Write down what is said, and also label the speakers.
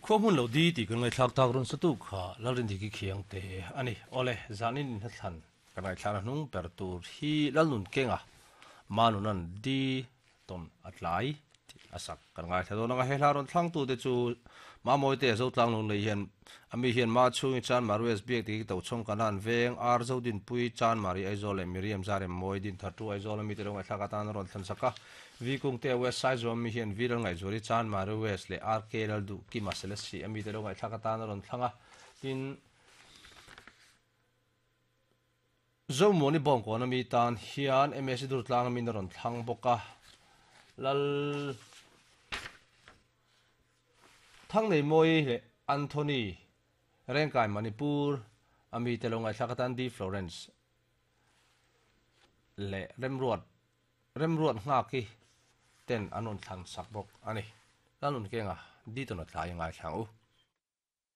Speaker 1: Khua hmun lo di tih kan ngaihthlak tak rawn sa tu kha Lalrindiki khiang te a ni. Awle, zanin inhnathlan kan ngaihthlakna hnung ber tur hi Lalnunkenga Manunan di tawn a tlai tih a sak kan ngaithla dawn ang a. He hla rawn thlangtu te chu Mamawi te Zotlang Lunglei hian a mi hian Ma chhungi Chan Marues Biak Diki Tochhawng Kanan Veng Ar Zodinpui Chan Mari Aizawl leh Miriam Zarem Mawi Dinthar Tu Aizawl a mite lo ngaihthlak atan a rawn thlan sak a. V Kungte West Saizawm mi hian V Lalngaihzuali Chan Mari West leh RK Lalduhkima Selesih a mite lo ngaihthlak atan a rawn thlang a. Tin, Zomuani Bawngkawn a mi tan hian MSc Durtlang a min a rawn thlang bawk a. Lal Thangneimawi leh Anthony Rengkai Manipur a mite lo ngaihthlak atan D Florence leh Remruat Remruat Nghaki ten an rawn thlan sak bawk a ni. Lalnunkenga D Tawnatla i ngaithla ang u.